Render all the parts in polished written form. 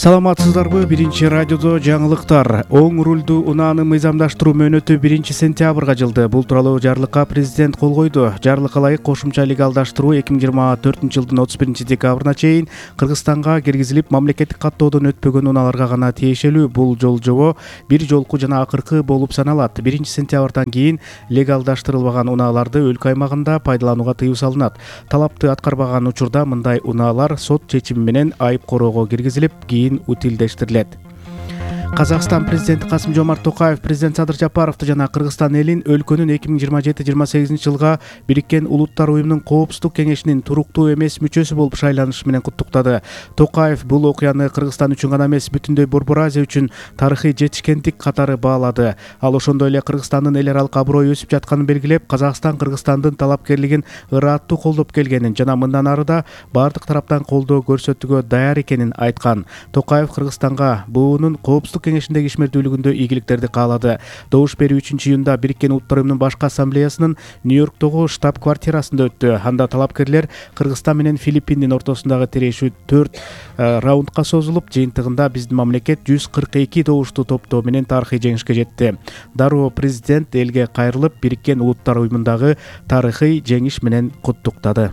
Саламатсыздарбы? Биринчи радиодо жаңылыктар. Оң рулду унааны мыйзамдаштыруу мөөнөтү 1-сентябрга жылды. Бул тууралуу жарлыкка президент кол койду. Жарлыкка ылайык кошумча легалдаштыруу 2024-жылдын 31-декабрына чейин Кыргызстанга киргизилип, мамлекеттик каттоодон өтпөгөн унааларга гана тиешелүү. Бул жолжобо бир жолку жана акыркы болуп саналат. 1-сентябрдан кийин легалдаштырылбаган унааларды өлкө аймагында пайдаланууга тыюу салынат. Талапты аткарбаган учурда мындай унаалар сот чечими менен айып короого киргизилип, утилдештирилет. Казакстан президенти Касым-Жомарт Токаев президент Садыр Жапаровду жана Кыргызстан элин өлкөнүн 2027-28 жылга Бириккен Улуттар уюмунун Коопсуздук кеңешинин туруктуу эмес мүчөсү болуп шайланышы менен куттуктады. Токаев бул окуяны Кыргызстан үчүн гана эмес, бүтүндөй Борбор Азия үчүн тарыхый жетишкендик катары баалады. Ал ошондой эле Кыргызстандын эл аралык аброю өсүп жатканын белгилеп, Казакстан Кыргызстандын талапкерлигин ырааттуу колдоп келгенин жана мындан ары да баардык тараптан колдоо көрсөтүүгө даяр экенин айткан. Токаев Кыргызстанга буунун Коопсуздук кеңешиндеги ишмердүүлүгүндө ийгиликтерди каалады. Добуш берүү 3-июнда Бириккен Улуттар уюмунун башкы ассамблеясынын Нью-Йорктогу штаб-квартирасында өттү. Анда талапкерлер Кыргызстан менен Филиппиндин ортосундагы тирешүү 4 раундка созулуп, жыйынтыгында биздин мамлекет 142 добуштуу топтоо менен тарыхый жеңишке жетти. Дароо президент элге кайрылып, Бириккен Улуттар уюмундагы тарыхый жеңиш менен куттуктады.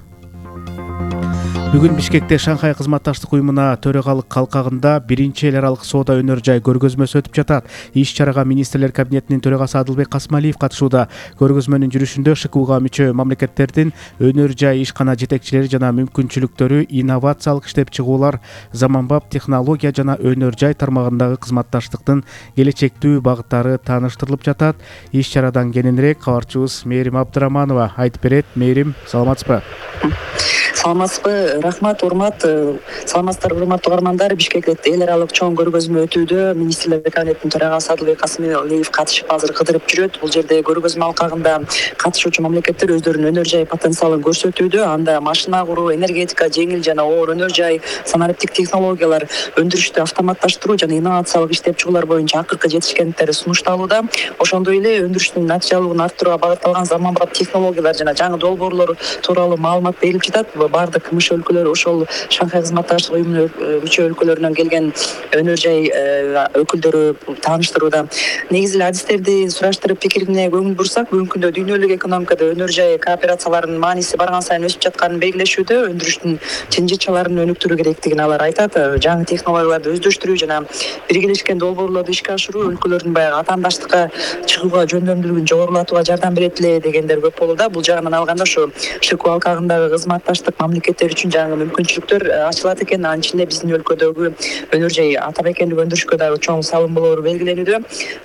Бүгүн Бишкекте Шанхай кызматташтык уюмуна төрагалык калкагында 1-эл аралык соода өнөр жай көргөзмөсү өтүп жатат. Иш-чарага министрлер кабинетинин төрагасы Адылбек Касмалиев катышууда. Көргөзмөнүн жүрүшүндө ШКУга мүчө мамлекеттердин өнөр жай ишкана жетекчилери жана мүмкүнчүлүктөрү, инновациялык иштеп чыгуулар, заманбап технология жана өнөр жай тармагындагы кызматташтыктын келечектүү багыттары тааныштырылып жатат. Иш-чарадан кененирээк кабарчыбыз Мээрим Абдыраманова айтып берет. Мээрим, саламатсызбы? Саламатсызбы, рахмат, урмат. Саламатсыздар, урматтуу угармандар. Бишкекте эл аралык чоң көргөзмө өтүүдө. Министрлер кабинетинин төрагасы Адылбек Касмалиев катышып азыр кыдырып жүрөт. Бул жерде көргөзмө алкагында катышуучу мамлекеттер өздөрүнүн өнөр жай потенциалын көрсөтүүдө. Анда машина куруу, энергетика, жеңил жана оор өнөр жай, санариптик технологиялар, өндүрүштү автоматташтыруу жана инновациялык иштеп чыгуулар боюнча акыркы жетишкендиктер сунушталууда. Ошондой эле өндүрүштүн натыйжалуулугун арттырууга багытталган заманбап технологиялар жана жаңы долбоорлор тууралуу маалымат берилип жатат. Баардык мүчө өлкөлөр, ошол Шанхай кызматташтык уюмунун мүчө өлкөлөрүнөн келген өнөр жай өкүлдөрү тааныштырууда. Негизи эле адистерди сураштырып, пикирине көңүл бурсак, бүгүнкү күндө дүйнөлүк экономикада өнөр жай кооперацияларынын мааниси барган сайын өсүп жатканын белгилешүүдө, өндүрүштүн жынжырчаларын өнүктүрүү керектигин алар айтат. Жаңы технологияларды өздөштүрүү жана биргелешкен долбоорлорду ишке ашыруу өлкөлөрдүн баягы атаандаштыкка чыгууга жөндөмдүүлүгүн жогорулатууга жардам берет эле дегендер көп болууда. Бул жагынан алганда ошо ШКУ алкагындагы кызматташтык мамлекеттер үчүн жаңы мүмкүнчүлүктөр ачылат экен. Анын ичинде биздин өлкөдөгү өнөр жай ата мекендик өндүрүшкө дагы чоң салым болоору белгиленүүдө.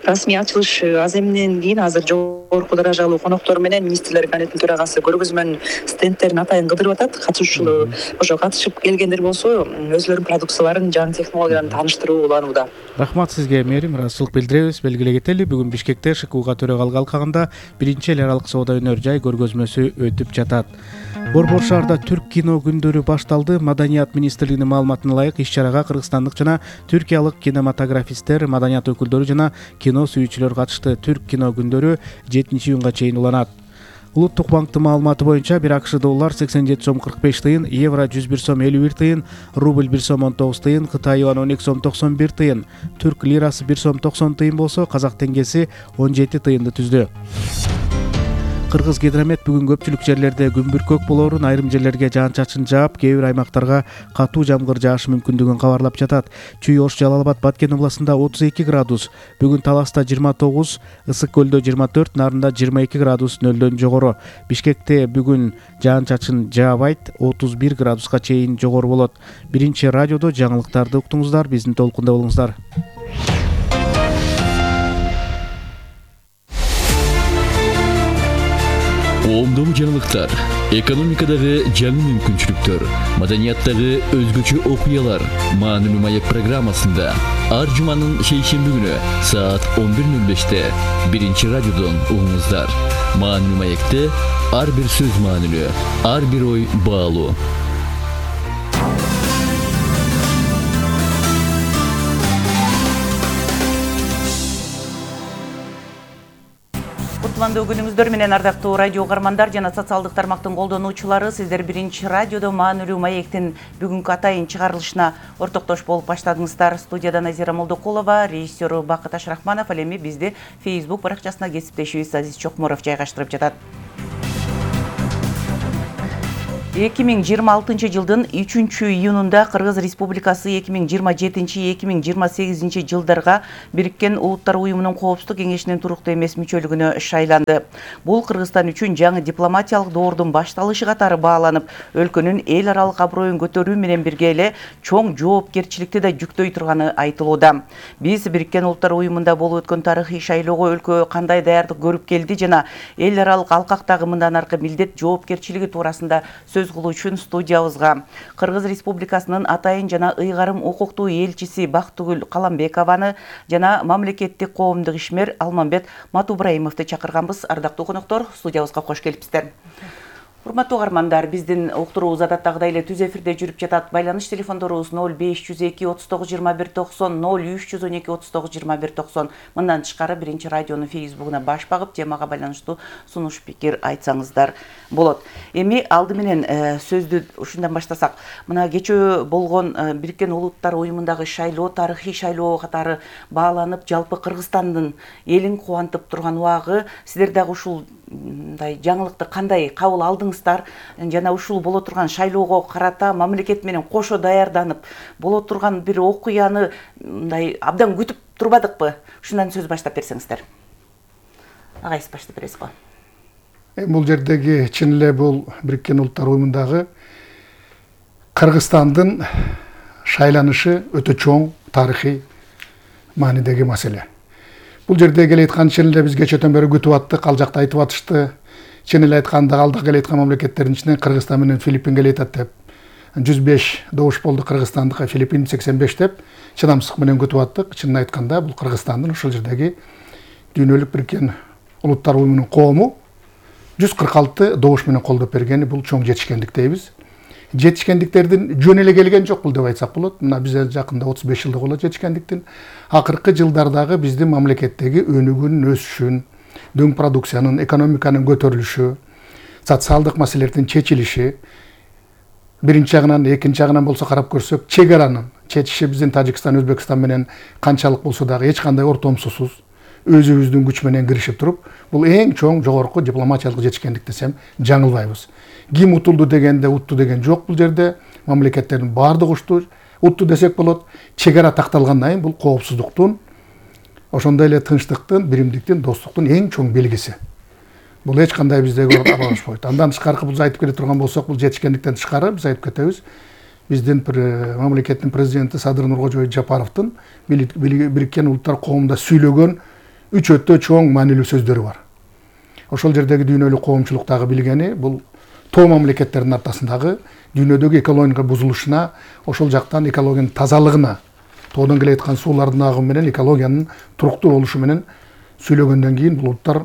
Расмий ачылыш аземинен кийин азыр жогорку даражалуу коноктор менен министрлер кабинетинин төрагасы көргөзмөнүн стендтерин атайын кыдырып атат. Катышуучулар ошо катышып келгендер болсо өзлөрүнүн продукцияларын, жаңы технологияларын тааныштыруу уланууда. Рахмат сизге, Мээрим. Ыраазычылык билдиребиз. Белгилей кетели, бүгүн Бишкекте ШКУга төрагалык алкагында 1-эл аралык соода өнөр жай көргөзмөсү өтүп жатат. Борбор шаарда түрк кино күндөрү башталды. Маданият министрлигинин маалыматына ылайык, иш-чарага кыргызстандык жана түркиялык кинематографисттер, маданият өкүлдөрү жана кино сүйүүчүлөр катышты. Түрк кино күндөрү 7-июнга чейин уланат. Улуттук банктын маалыматы боюнча бир АКШ доллар 87 сом 45 тыйын, евро 101 сом 51 тыйын, рубль 1 сом 19 тыйын, Кытай юан 12 сом 91 тыйын, түрк лирасы 1 сом 90 тыйын болсо, казак теңгеси 17 тыйынды түздү. Кыргыз гидромет бүгүн көпчүлүк жерлерде күн бүркөк болоорун, айрым жерлерге жаан-чачын жаап, кээ бир аймактарга катуу жамгыр жаашы мүмкүндүгүн кабарлап жатат. Чүй, Ош, Жалал Абад, Баткен областында 32 градус, бүгүн Таласта 29, Ысык көлдө 24, Нарында 22 градус нөлдөн жогору. Бишкекте бүгүн жаан-чачын жаабайт, 31 градуска чейин жогору болот. 1-чи радиодо жаңылыктарды уктуңуздар, биздин толкунда болуңуздар. Коомдогу жаңылыктар, экономикадагы жаңы мүмкүнчүлүктөр, маданияттагы өзгөчө окуялар Маанилүү маек программасында ар жуманын шейшемби күнү саат 11:05-те 1-чи радиодон угуңуздар. Маанилүү маекте ар бир сөз маанилүү, ар бир ой баалуу. кутмандуу күнүңүздөр менен ардактуу радио угармандар жана социалдык тармактын колдонуучулары, сиздер Биринчи радиодо Маанилүү маектин бүгүнкү атайын чыгарылышына ортоктош болуп баштадыңыздар. Студияда Назира Молдокулова, режиссер Бакыт Ашрахманов, ал эми бизди Facebook баракчасына кесиптешибиз Азиз Чокморов жайгаштырып жатат. 2026 жылдын 3-июнунда Кыргыз Республикасы 2027-2028 жылдарга Бириккен Улуттар Уюмунун Коопсуздук кеңешинин туруктуу эмес мүчөлүгүнө шайланды. Бул Кыргызстан үчүн жаңы дипломатиялык доордун башталышы катары бааланып, өлкөнүн эл аралык аброюн көтөрүү менен бирге эле чоң жоопкерчиликти да жүктөй турганы айтылууда. Биз Бириккен Улуттар Уюмунда болуп өткөн тарыхый шайлоого өлкө кандай даярдык көрүп келди жана эл аралык алкактагы мындан аркы милдет жоопкерчилиги туурасында сөз кылуу үчүн студиябызга Кыргыз Республикасынын атайын жана ыйгарым укуктуу элчиси Бактыгүл Каламбекованы жана мамлекеттик коомдук ишмер Алмамбет Матубраимовду чакырганбыз. Ардактуу коноктор, студиябызга кош келипсиздер. Урматтуу угармандар, биздин уктуруубуз адаттагыдай эле түз эфирде жүрүп жатат. Байланыш телефондорубуз 0502 39 21 90, 0312 39 21 90. Мындан тышкары Биринчи радионун Facebook'уна баш багып, темага байланыштуу сунуш пикир айтсаңыздар болот. Эми алды менен сөздү ушундан баштасак, мына кечөө болгон Бириккен Улуттар Уюмундагы шайлоо, тарыхый шайлоо катары бааланып, жалпы Кыргызстандын элин кубантып турган убагы, сиздер дагы ушул жаңылыкты кандай кабыл алдыңыздар жана ушул боло турган шайлоого карата мамлекет менен кошо даярданып боло турган бир окуяны мындай абдан күтүп турбадыкпы? Ушундан сөз баштап берсеңиздер. Агайсыз баштап бересиз го. Бул жердеги чын эле бул Бириккен Улуттар Уюмундагы Кыргызстандын шайланышы өтө чоң тарыхый маанидеги маселе. Бул жерде келе айткан чын эле биз кечөөдөн бери күтүп аттык, ал жакта айтып атышты. Чын эле айтканда алда келе айткан мамлекеттердин ичинен Кыргызстан менен Филиппин келе айтат деп. 105 добуш болду Кыргызстандыкка, Филиппин 85 деп чыдамсыздык менен күтүп аттык. Чынын айтканда бул Кыргызстандын ушул жердеги дүйнөлүк Бириккен Улуттар Уюмунун коому 146 добуш менен колдоп бергени бул чоң жетишкендик дейбиз. Жетишкендиктердин жөн эле келген жок бул деп айтсак болот. Мына биз жакында 35 жылдык болот жетишкендиктин. Акыркы жылдардагы биздин мамлекеттеги өнүгүүнүн өсүшүн, дөң продукциянын, экономиканын көтөрүлүшү, социалдык маселелердин чечилиши, биринчи жагынан, экинчи жагынан болсо карап көрсөк, чек аранын чечиши биздин Тажикстан, Өзбекстан менен канчалык болсо дагы эч кандай ортомсусуз өзүбүздүн күч менен киришип туруп, бул эң чоң жогорку дипломатиялык жетишкендик десем жаңылбайбыз. Ким утулду дегенде утту деген жок бул жерде. Мамлекеттердин баардыгы утту десек болот. Чек ара такталгандан кийин бул коопсуздуктун, ошондой эле тынчтыктын, биримдиктин, достуктун эң чоң белгиси. Бул эч кандай биздеги аралашпайт. Андан тышкары биз айтып келе турган болсок, бул жетишкендиктен тышкары биз айтып кетебиз. Биздин мамлекеттин президенти Садыр Нуркожоевич Жапаровдун Бириккен Улуттар коомунда сүйлөгөн 3 өтө чоң маанилүү сөздөрү бар. Ошол жердеги дүйнөлүк коомчулуктагы билгени бул тоо мамлекеттердин ортосундагы дүйнөдөгү экология бузулушуна, ошол жактан экологиянын тазалыгына, тоодон келе айткан суулардын агымы менен экологиянын туруктуу болушу менен сүйлөгөндөн кийин бул улуттар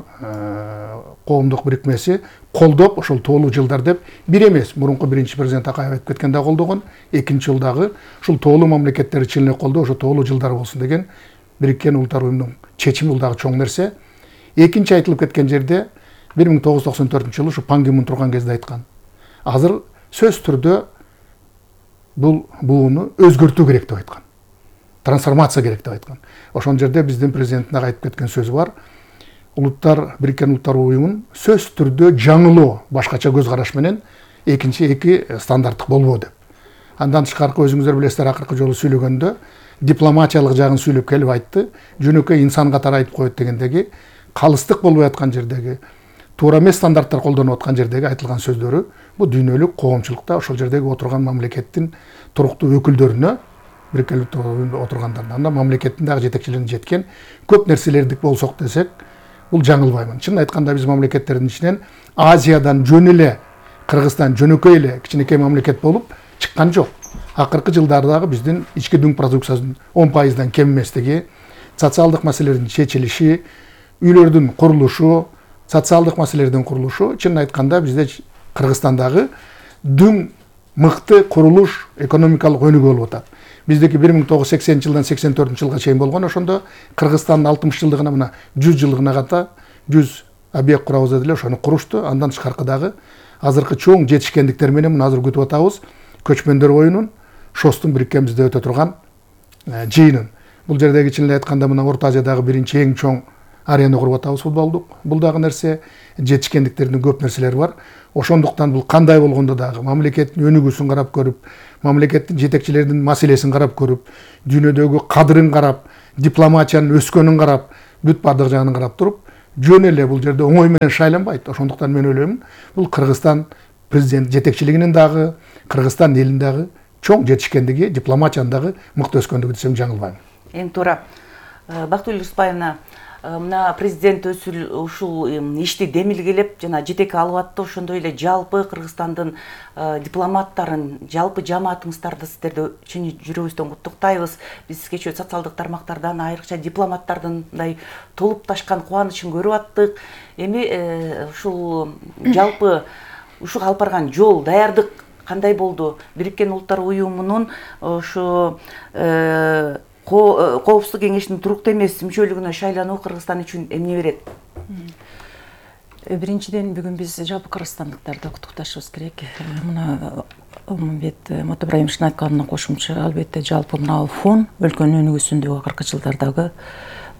коомдук бирикмеси колдоп, ошол тоолуу жылдар деп бир эмес, мурунку биринчи президент Акаев айтып кеткенде колдогон, экинчи жылдагы ушул тоолуу мамлекеттер чын эле колдоо, ошо тоолуу жылдар болсун деген Бириккен Улуттар Уюмунун чечими, бул дагы чоң нерсе. Экинчи айтылып кеткен жерде 1994 жылы ушу Пан Ги Мун турган кезде айткан. Азыр сөз түрдө бул бууну өзгөртүү керек деп айткан. Трансформация керек деп айткан. Ошол жерде биздин президенттин айтып кеткен сөзү бар. Бириккен Улуттар Уюмун сөз түрдө жаңылоо, башкача көз караш менен эки стандарттык болбоо деп. Андан тышкары өзүңүздөр билесиздер, акыркы жолу сүйлөгөндө дипломатиялык жагын сүйлөп келип айтты. Жөнөкөй инсан катары айтып коет дегендеги калыстык болбой аткан жердеги, туура эмес стандарттар колдонуп аткан жердеги айтылган сөздөрү бул дүйнөлүк коомчулукта ошол жердеги отурган мамлекеттин туруктуу өкүлдөрүнө, Бириккен Улуттар Уюмунда отургандарына, мамлекеттин дагы жетекчилерине жеткен көп нерселердик болсок десек, бул жаңылбаймын. Чын айтканда биз мамлекеттердин ичинен Азиядан жөн эле Кыргызстан жөнөкөй эле кичинекей мамлекет болуп чыккан жок. Акыркы жылдардагы биздин ички дүң продукциясынын 10% кем эместиги, социалдык маселелердин чечилиши, үйлөрдүн курулушу, социалдык маселелердин курулушу, чын айтканда бизде Кыргызстандагы дүң мыкты курулуш, экономикалык өнүгүү болуп атат. Биздеки 1980 жылдан 84 жылга чейин болгон, ошондо Кыргызстандын 60 жылдыгына, мына 100 жылдыгына ката 100 объект курабыз деп эле ошону курушту. Андан тышкаркы дагы азыркы чоң жетишкендиктер менен мына азыр күтүп атабыз. Көчмөндөр оюнун ШОСтун бириккенбизде өтө турган жыйынын. Бул жердеги чын эле айтканда мына Орто Азиядагы биринчи эң чоң арена куруп атабыз футболдук. Бул дагы нерсе, жетишкендиктердин көп нерселери бар. Ошондуктан бул кандай болгондо дагы мамлекеттин өнүгүүсүн карап көрүп, мамлекеттин жетекчилердин маселесин карап көрүп, дүйнөдөгү кадырын карап, дипломатиянын өскөнүн карап, бүт бардык жагын карап туруп, жөн эле бул жерде оңой менен шайланбайт. Ошондуктан мен ойлойм, бул Кыргызстан президент жетекчилигинин дагы, Кыргызстан элинин дагы чоң жетишкендиги, дипломатиянын дагы мыкты өскөндүгү десем жаңылбайм. Эң туура. Бактыгүл Рыспаевна, мына президент ушул ишти демилгелеп жана жетекке алып атты. Ошондой эле жалпы Кыргызстандын дипломаттарын, жалпы жамаатыңыздарды сиздерди чын жүрөгүбүздөн куттуктайбыз. Биз кечээ социалдык тармактардан, айрыкча дипломаттардын мындай толуп ташкан кубанычын көрүп аттык. Эми ушул жалпы ушуга алып барган жол, даярдык кандай болду? Бириккен Улуттар Уюмунун ушу Коопсуздук кеңешинин туруктуу эмес мүчөлүгүнө шайлануу Кыргызстан үчүн эмне берет? Биринчиден бүгүн биз жалпы кыргызстандыктарды куттукташыбыз керек. Мына Алмамбет Матыбраимовичтин айтканына кошумча, албетте жалпы мына фон өлкөнүн өнүгүүсүндөгү акыркы жылдардагы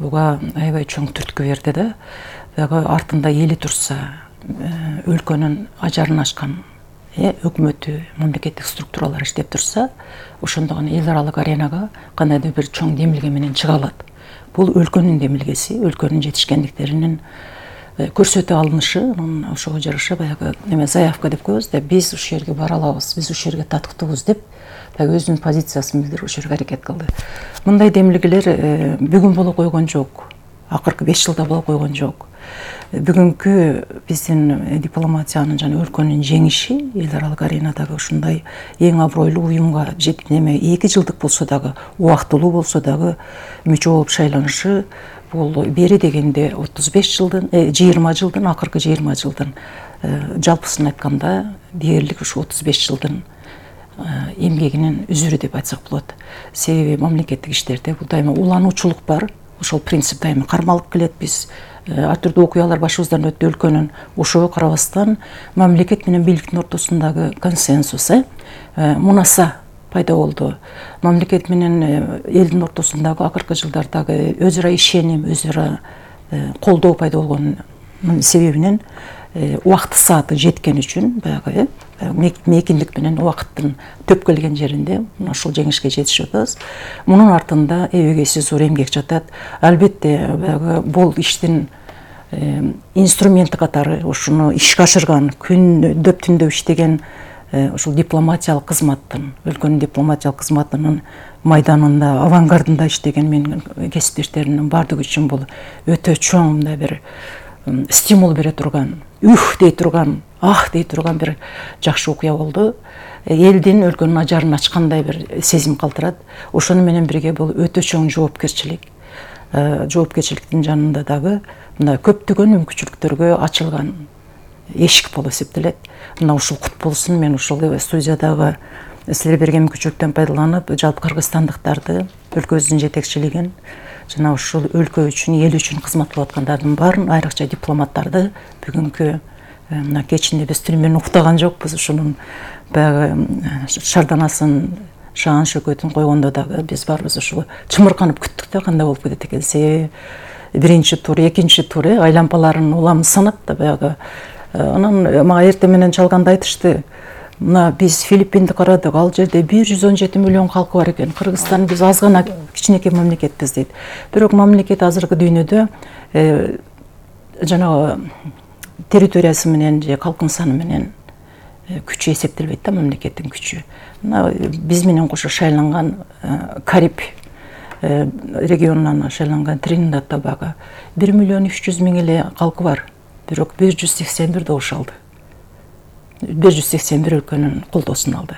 буга аябай чоң түрткү берди да. Дагы артында эли турса, өлкөнүн ажарын ачкан өкмөтү, мамлекеттик структуралар иштеп турса, ошондо гана эл аралык аренага кандайдыр бир чоң демилге менен чыга алат. Бул өлкөнүн демилгеси, өлкөнүн жетишкендиктеринин көрсөтө алынышы, ошого жараша баягы заявка деп коебуз да, биз ушул жерге бара алабыз, биз ушул жерге татыктуубуз деп өзүнүн позициясын билдирип ошол жерге аракет кылды. Мындай демилгелер бүгүн боло койгон жок, акыркы 5 жылда боло койгон жок. Бүгүнкү биздин дипломатиянын жана өлкөнүн жеңиши эл аралык аренадагы ушундай эң абройлуу уюмга 2 жылдык болсо дагы, убактылуу болсо дагы мүчө болуп шайланышы, бул бери дегенде 35 жылдын, 20 жылдын, акыркы 20 жылдын жалпысын айтканда дээрлик ушу 35 жылдын эмгегинин үзүрү деп айтсак болот. Себеби мамлекеттик иштерде бул дайыма улануучулук бар. Ошол принцип дайыма кармалып келет. Биз ар түрдүү окуялар башыбыздан өттү өлкөнүн. Ошого карабастан мамлекет менен бийликтин ортосундагы консенсус, мунаса пайда болду. Мамлекет менен элдин ортосундагы акыркы жылдардагы өз ара ишеним, өз ара колдоо пайда болгонун себебинен убакыт сааты жеткен үчүн баягы мейкиндик менен убакыттын төп келген жеринде ушул жеңишке жетишип атабыз. Мунун артында эбегейсиз зор эмгек жатат. Албетте баягы бул иштин инструменти катары ушуну ишке ашырган, күндөп түндөп иштеген ушул дипломатиялык кызматтын, өлкөнүн дипломатиялык кызматынын майданында, авангардында иштеген менин кесиптештеримдин бардыгы үчүн бул өтө чоң мындай бир стимул бере турган, дей турган, дей турган бир жакшы окуя болду. Элдин, өлкөнүн ажарын ачкандай бир сезим калтырат. Ошону менен бирге бул өтө чоң жоопкерчилик. Жоопкерчиликтин жанында дагы мына көптөгөн мүмкүнчүлүктөргө ачылган эшик болуп эсептелет. Мына ушул кут болсун, мен ушул студиядагы силер берген мүмкүнчүлүктөн пайдаланып, жалпы кыргызстандыктарды, өлкөбүздүн жетекчилигин жана ушул өлкө үчүн, эл үчүн кызмат кылып аткандардын баарын, айрыкча дипломаттарды бүгүнкү мына кечинде биз түнү менен уктаган жокпуз. Ушунун баягы шарданасын, шаан шөкөтүн койгондо дагы биз баарыбыз ушул чымырканып күттүк да, кандай болуп кетет экен. Себеби биринчи тур, экинчи тур айлампаларын уламыз санап да баягы. Анан мага эртең менен чалганда айтышты, мына биз Филиппинди карадык, ал жерде 117 миллион калкы бар экен. Кыргызстан биз аз гана кичинекей мамлекетпиз дейт. Бирок мамлекет азыркы дүйнөдө жанагы территориясы менен же калкын саны менен күчү эсептелбейт да, мамлекеттин күчү. Мына биз менен кошо шайланган Кариб регионунан шайланган Трининдад да Тобаго 1 миллион 300 миң эле калкы бар. Бирок 181 добуш алды. 181 өлкөнүн колдоосун алды.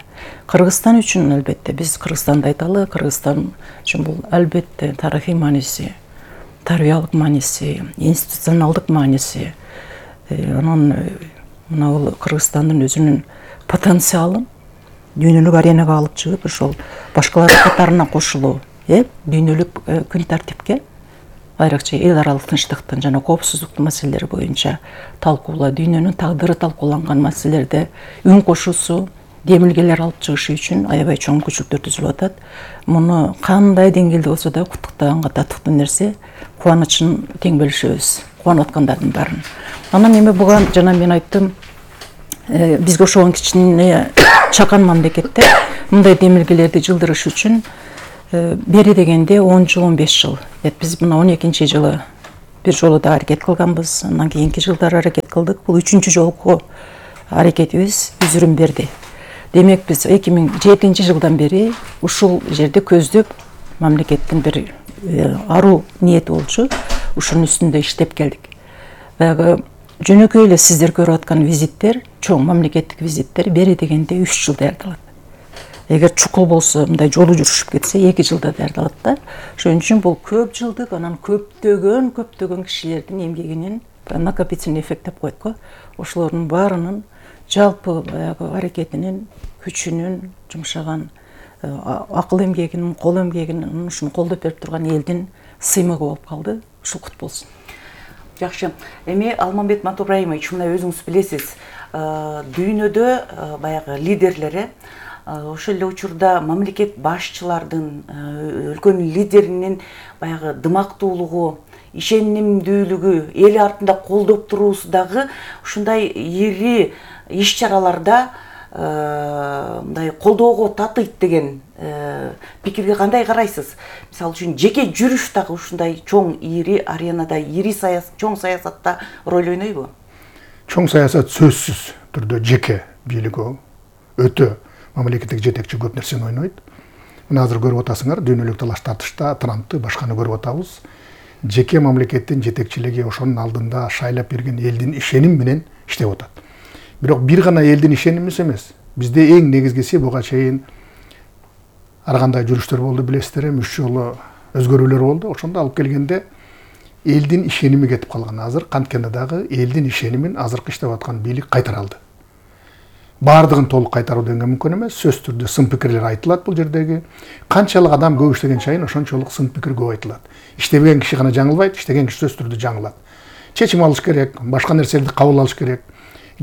Кыргызстан үчүн албетте биз Кыргызстанды айталы, Кыргызстан үчүн бул албетте тарыхый мааниси, тарбиялык мааниси, институционалдык мааниси. Анан мына бул Кыргызстандын өзүнүн потенциалын дүйнөлүк аренага алып чыгып, ошол башкалардын катарына кошулуу, дүйнөлүк күн тартипке айрыкча эл аралык тынчтыктын жана коопсуздуктун маселелери боюнча талкуулоо, дүйнөнүн тагдыры талкууланган маселелерде үн кошуусу, демилгелер алып чыгышы үчүн аябай чоң мүмкүнчүлүктөр түзүлүп атат. Муну кандай деңгээлде болсо да куттуктаганга татыктуу нерсе, кубанычын тең бөлүшөбүз, кубанып аткандардын баарын. Анан эми буга жана мен айттым, бизге ошогон кичине чакан мамлекетте мындай демилгелерди жылдырыш үчүн бери дегенде 10 жыл, 15 жыл. Биз мына 12-нчи жылы бир жолу да аракет кылганбыз, андан кийинки жылдары аракет кылдык. Бул 3-чү жолку аракетибиз үзүрүн берди. Демек биз 2007 жылдан бери ушул жерде көздөп мамлекеттин бир аруу ниети болчу, ушунун үстүндө иштеп келдик. Баягы жөнөкөй эле сиздер көрүп аткан визиттер, чоң мамлекеттик визиттер бери дегенде 3 жыл даярдалат. Эгер чукул болсо, мындай жолу жүрүшүп кетсе 2 жылда даярдалат да. Ошон үчүн бул көп жылдык, анан көптөгөн кишилердин эмгегинин накопительный эффект деп коет го. Ошолордун баарынын жалпы баягы аракетинин, күчүнүн, жумшаган акыл эмгегинин, кол эмгегинин, ушуну колдоп берип турган элдин сыймыгы болуп калды. Ушул кут болсун. Жакшы. Эми Алмамбет Матубраимович, мына өзүңүз билесиз, дүйнөдө баягы лидерлери ошол эле учурда мамлекет башчылардын, өлкөнүн лидеринин баягы дымактуулугу, ишенимдүүлүгү, эл артында колдоп туруусу дагы ушундай ири иш-чараларда мындай колдоого татыйт деген пикирге кандай карайсыз? Мисалы үчүн жеке жүрүш дагы ушундай чоң ири аренада, чоң саясатта роль ойнойбу? Чоң саясат сөзсүз түрдө жеке бийлиги өтө мамлекеттик жетекчи көп нерсени ойнойт. Мына азыр көрүп атасыңар, дүйнөлүк талаш тартышта Трампты башканы көрүп атабыз. Жеке мамлекеттин жетекчилиги ошонун алдында шайлап берген элдин ишеним менен иштеп атат. Бирок бир гана элдин ишеними эмес. Бизде эң негизгиси буга чейин ар кандай жүрүштөр болду, билесиздер, 3 жолу өзгөрүүлөр болду. Ошондо алып келгенде элдин ишеними кетип калган. Азыр канткенде дагы элдин ишенимин азыркы иштеп аткан бийлик кайтара алды. Бардыгын толук кайтаруу деген мүмкүн эмес. Сөз түрдө сын пикирлер айтылат бул жердеги. Канчалык адам көп иштеген чайын ошончолук сын пикир көп айтылат. Иштебеген киши гана жаңылбайт, иштеген киши сөз түрдө жаңылат. Чечим алыш керек, башка нерселерди кабыл алыш керек.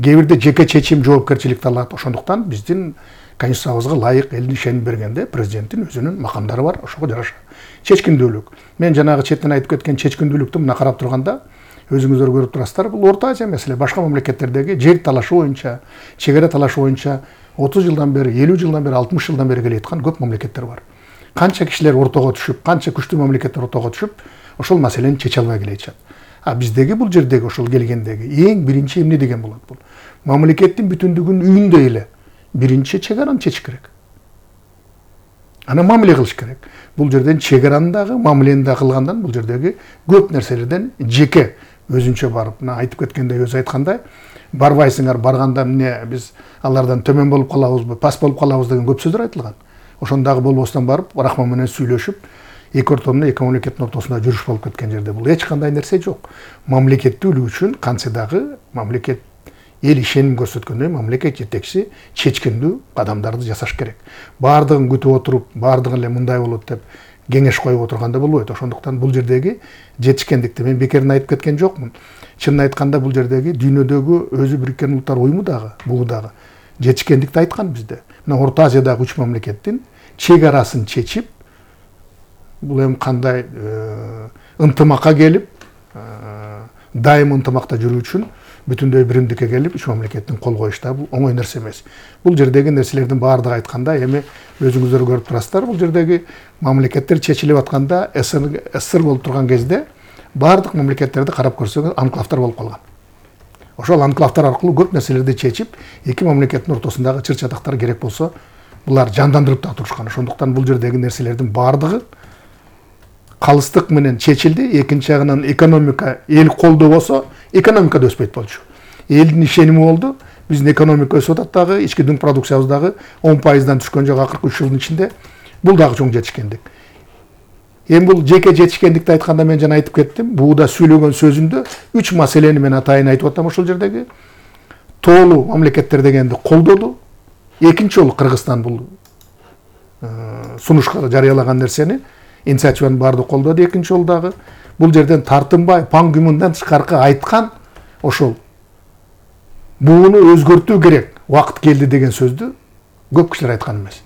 Кээ бирде жеке чечим жоопкерчиликти алат. Ошондуктан биздин конституциябызга ылайык элдин ишеним бергенде президенттин өзүнүн макамдары бар, ошого жараша. Чечкиндүүлүк. Мен жанагы четтен айтып кеткен чечкиндүүлүктү мына карап турганда өзүңүздөр көрүп турасыздар, бул Орто Азия маселе. Башка мамлекеттердеги жер талашы боюнча, чегара талашы боюнча 30 жылдан бери, 50 жылдан бери, 60 жылдан бери келе аткан көп мамлекеттер бар. Канча кишилер ортого түшүп, канча күчтүү мамлекеттер ортого түшүп, ошол маселени чече албай келе атышат. А биздеги бул жердеги ошол келгендеги эң биринчи эмне деген болот бул? Мамлекеттин бүтүндүгүнүн үйүндө эле биринчи чегараны чечиш керек. Ана мамиле кылыш керек. Бул жерден чегараны дагы, мамилени дагы кылгандан бул жердеги көп нерселерден жеке өзүнчө барып, мына айтып кеткендей, өзү айткандай, барбайсыңар, барганда эмне биз алардан төмөн болуп калабызбы, пас болуп калабыз деген көп сөздөр айтылган. Ошондагы болбостон барып, рахман менен сүйлөшүп, эки ортомдо эки мамлекеттин ортосунда жүрүш болуп кеткен жерде бул эч кандай нерсе жок. Мамлекеттүүлүк үчүн кантсе дагы мамлекет эл ишеним көрсөткөндөй мамлекет жетекчиси чечкиндүү кадамдарды жасаш керек. Бардыгын күтүп отуруп, бардыгы эле мындай болот деп кеңеш коюп отурганда болбойт. Ошондуктан бул жердеги жетишкендикти мен бекерин айтып кеткен жокмун. Чынын айтканда бул жердеги дүйнөдөгү өзү Бириккен Улуттар уюму дагы, бул дагы жетишкендикти айткан бизде. Мына Орто Азиядагы 3 мамлекеттин чек арасын чечип, бул эми кандай ынтымакка келип, дайым ынтымакта жүрүү үчүн бүтүндөй биримдикке келип 3 мамлекеттин кол коюшта бул оңой нерсе эмес. Бул жердеги нерселердин баардыгы айтканда эми өзүңүздөр көрүп турасыздар, бул жердеги мамлекеттер чечилип атканда СССР болуп турган кезде баардык мамлекеттерди карап көрсөңүз анклавдар болуп калган. Ошол анклавдар аркылуу көп нерселерди чечип, эки мамлекеттин ортосундагы чыр-чатактар керек болсо, булар жандандырып да турушкан. Ошондуктан бул жердеги нерселердин баардыгы калыстык менен чечилди. Экинчи жагынан экономика, эл колдоо болсо, экономика да өспөйт болчу. Элдин ишеними болду. Биздин экономика өсүп атат дагы, ички дүң продукциябыз дагы 10%дан түшкөн жок акыркы 3 жылдын ичинде. Бул дагы чоң жетишкендик. Эми бул жеке жетишкендикти айтканда мен жана айтып кеттим. Бууда сүйлөгөн сөзүмдө 3 маселени мен атайын айтып атам ошол жердеги. Тоолуу мамлекеттер дегенди колдоду. Экинчи жолу Кыргызстан бул сунушка жарыялаган нерсени инициативаны баардык колдоду. Экинчи жолу дагы бул жерден тартынбай пан гүмүндан тышкаркы айткан ошол буну өзгөртүү керек, убакыт келди деген сөздү көп кишилер айткан эмес.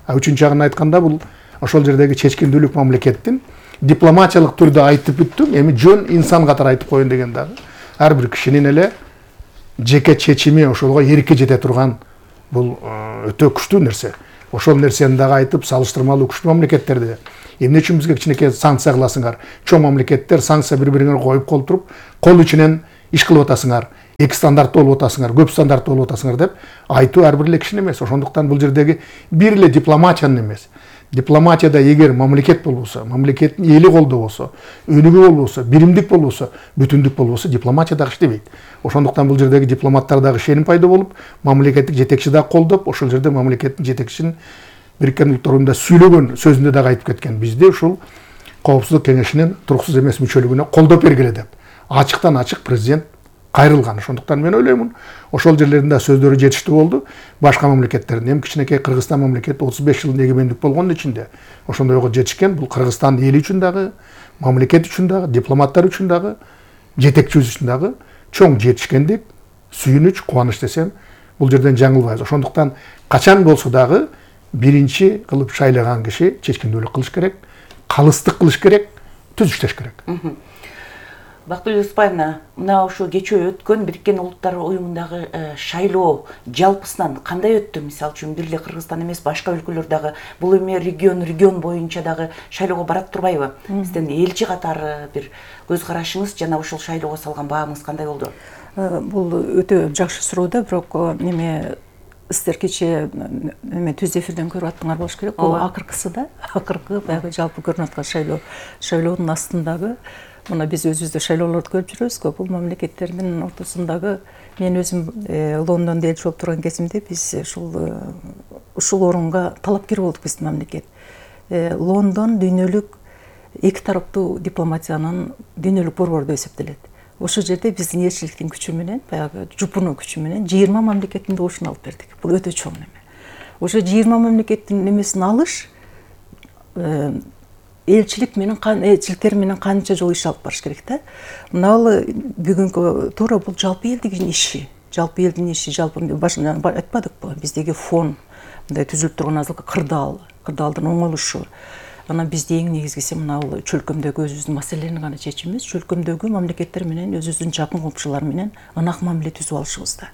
Үчүнчү жагын айтканда бул ошол жердеги чечкиндүүлүк мамлекеттин дипломатиялык түрдө айтып бүттүм, эми жөн инсан катары айтып коеюн деген дагы ар бир кишинин эле жеке чечими ошолго эркке жете турган бул өтө күчтүү нерсе. Ошол нерсени дагы айтып, салыштырмалуу күчтүү мамлекеттерди эмне үчүн бизге кичинекей санкция кыласыңар? Чоң мамлекеттер санкция бири-бириңерге коюп туруп, кол ичинен иш кылып атасыңар, эки стандарттуу болуп атасыңар, көп стандарттуу болуп атасыңар деп айтуу ар бир эле кишинин эмес. Ошондуктан бул жердеги бир эле дипломатиянын эмес. Дипломатияда эгер мамлекет болбосо, мамлекеттин эли колдоо болсо, өнүгүү болбосо, биримдик болбосо, бүтүндүк болбосо, дипломатия дагы иштебейт. Ошондуктан бул жердеги дипломаттар дагы ишеним пайда болуп, мамлекеттик жетекчи дагы колдоп, ошол жерде мамлекеттин жетекчисинин Бириккен Улуттар Уюмунда сүйлөгөн сөзүндө дагы айтып кеткен. Бизде ушул Коопсуздук кеңешинин туруксуз эмес мүчөлүгүнө колдоп бергиле деп. Ачыктан ачык президент кайрылган. Ошондуктан мен ойлоймун, ошол жерлеринде сөздөрү жетиштүү болду. Башка мамлекеттердин, эми кичинекей Кыргызстан мамлекети 35 жылдын эгемендик болгондун ичинде ошондойго жетишкен. Бул Кыргызстан эли үчүн дагы, мамлекет үчүн дагы, дипломаттар үчүн дагы, жетекчибиз үчүн дагы чоң жетишкендик, сүйүнүч, кубаныч десем, бул жерден жаңылбайбыз. Ошондуктан качан болсо дагы биринчи кылып шайлаган киши чечкиндүүлүк кылыш керек, калыстык кылыш керек, түз иштеш керек. Бактыгүл Оспаевна, мына ошо кечээ өткөн Бириккен Улуттар Уюмундагы шайлоо жалпысынан кандай өттү? Мисалы үчүн бир эле Кыргызстан эмес, башка өлкөлөр дагы бул эми регион боюнча дагы шайлоого барат турбайбы? Сиздин элчи катары бир көз карашыңыз жана ошол шайлоого салган бааңыз кандай болду? Бул өтө жакшы суроо да, бирок эме сиздер кечээ түз эфирден көрүп аттыңар болуш керек. Бул акыркысы да, акыркы баягы жалпы көрүнүп аткан шайлоонун астындагы мына биз өзүбүздө шайлоолорду көрүп жүрөбүз. Бул мамлекеттердин ортосундагы мен өзүм Лондондо элчи болуп турган кезимде биз ушул орунга талапкер болдук биздин мамлекет. Лондон дүйнөлүк эки тараптуу дипломатиянын дүйнөлүк борбору деп эсептелет. Ошол жерде биздин элчиликтин күчү менен, баягы жупунуу күчү менен 20 мамлекеттин добушун алып бердик. Бул өтө чоң неме. Ошо 20 мамлекеттин немесин алыш элчиликтер менен канча жолу иш алып барыш керек да. Мына бүгүнкү туура бул жалпы элдин иши. Жалпы элдин иши, жалпы башынан айтпадыкпы? Биздеги фон, мындай түзүлүп турган азыркы кырдаалдын оңолушу. Анан бизде эң негизгиси мына чөлкөмдөгү өзүбүздүн маселелерни гана чечимиз, чөлкөмдөгү мамлекеттер менен өзүбүздүн жакын комшулар менен ынак мамиле түзүп алышыбызда.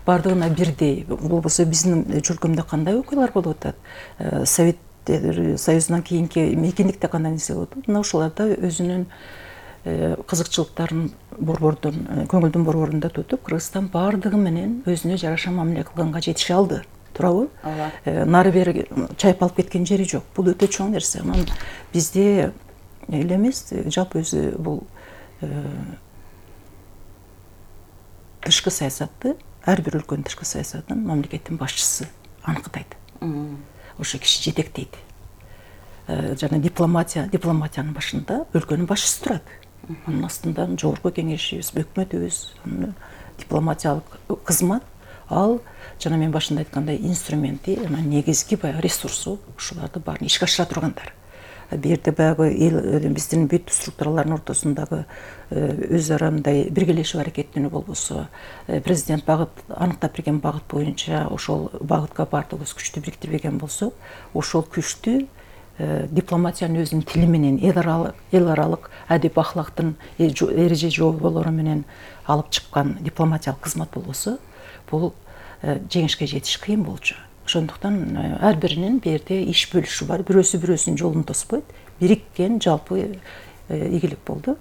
Бардыгына бирдей. Болбосо биздин чөлкөмдө кандай окуялар болуп атат? Совет Союзунан кийинки мейкиндикте кандай нерсе болуп атат? Мына ошоларда өзүнүн кызыкчылыктарын көңүлдүн борборунда тутуп, Кыргызстан бардыгы менен өзүнө жараша мамиле кылганга жетише алды. Туурабы? Нары бери чайпалып кеткен жери жок. Бул өтө чоң нерсе. Анан бизде эле эмес, жалпы өзү бул тышкы саясатты, ар бир өлкөнүн тышкы саясатын мамлекеттин башчысы аныктайт. Ошо киши жетектейт. Жана дипломатиянын башында өлкөнүн башчысы турат. Анын астында жогорку кеңешибиз, өкмөтүбүз, дипломатиялык кызмат, ал жана мен башында айткандай инструменти, негизги баягы ресурсу ушуларды баарын ишке ашыра тургандар. Бул жерде баягы биздин бүт структуралардын ортосундагы өз ара мындай биргелешип аракеттенүү болбосо, президент аныктап берген багыт боюнча ошол багытка баардыгыбыз күчтү бириктирбеген болсок, ошол күчтү дипломатиянын өзүнүн тили менен, эл аралык адеп ахлактын эреже жоболору менен алып чыккан дипломатиялык кызмат болбосо, бул жеңишке жетиш кыйын болчу. Ошондуктан ар биринин бу жерде иш бөлүшү бар. Бирөөсү бирөөсүнүн жолун тоспойт. Бириккен жалпы ийгилик болду.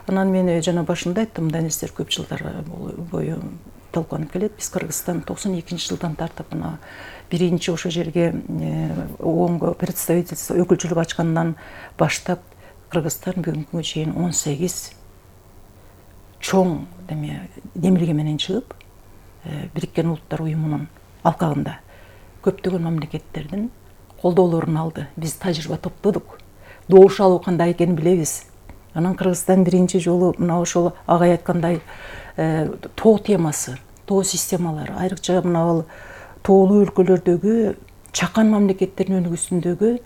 Анан мен жана башында айттым, мындай нерселер көп жылдар бою талкууланып келет. Биз Кыргызстан 92-жылдан тартып мына биринчи ошол жерге ООНго представительство өкүлчүлүк ачкандан баштап Кыргызстан бүгүнкүгө чейин 18 чоң демилге менен чыгып, Бириккен Улуттар Уюмунун алкагында көптөгөн мамлекеттердин колдоолорун алды. Биз тажрыйба топтодук. Добуш алуу кандай экенин билебиз. Анан Кыргызстан биринчи жолу мына ошол агай айткандай тоо темасы, тоо системалары, айрыкча мына тоолуу өлкөлөрдөгү чакан мамлекеттердин өнүгүүсүндөгү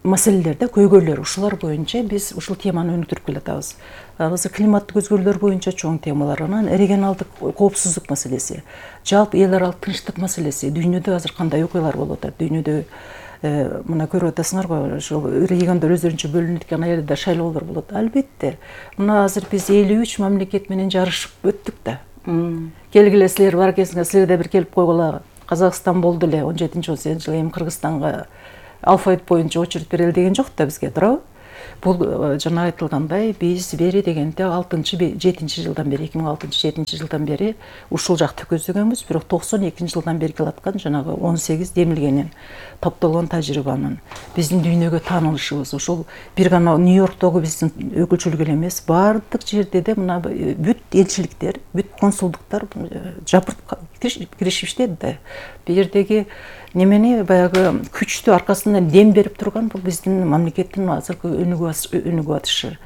маселелер да, көйгөйлөр ушулар боюнча биз ушул теманы өнүктүрүп келатабыз. Азыр климаттык өзгөрүүлөр боюнча чоң темалар, анан регионалдык коопсуздук маселеси, жалпы эл аралык тынчтык маселеси, дүйнөдө азыр кандай окуялар болуп атат, дүйнөдө мына көрүп атасыңарбы, ошол региондор өздөрүнчө бөлүнүп аткан жерде шайлоолор болот. Албетте, мына азыр биз 53 мамлекет менен жарышып өттүк да. Келгиле силер бар кезинде силер да бир келип койгула. Казакстан болду эле 17-18 жылы эми Кыргызстанга алфавит боюнча очередь берели деген жок да бизге, туурабы? Бул жана айтылгандай биз бери дегенде 6-7 жылдан бери 2006-7 жылдан бери ушул жакты көздөгөнбүз, бирок 92 жылдан бери келаткан жанагы 18 демилгенин топтолгон тажрыйбанын биздин дүйнөгө таанылышыбыз ушул бир гана Нью-Йорктогу биздин өкүлчүлүк эле эмес, баардык жерде де мына бүт элчиликтер, бүт консулдуктар жапырт киришип иштеди да. Бул жердеги немени баягы күчтүү аркасынан дем берип турган бул биздин мамлекеттин азыркы өнүгүп атышы,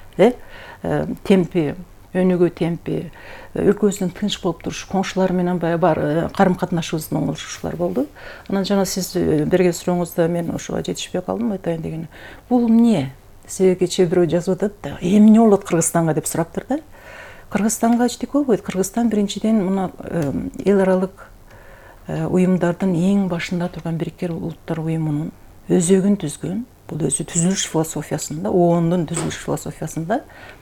темпи, өнүгүү темпи, өлкөбүздүн тынч болуп турушу, коңшулар менен бар карым катнашыбыздын оңолушуулар болду. Анан жана сиз берген сурооңузда мен ошого жетишпей калдым, айтайын дегени. Бул эмне? Сизге кечээ бирөө жазып атат да, эмне болот Кыргызстанга деп сураптыр да. Кыргызстанга эчтеке болбойт. Кыргызстан биринчиден мына эл аралык уюмдардын эң башында турган Бириккен Улуттар уюмунун өзөгүн түзгөн, бул өзү түзүлүш философиясында, ООНдун түзүлүш философиясында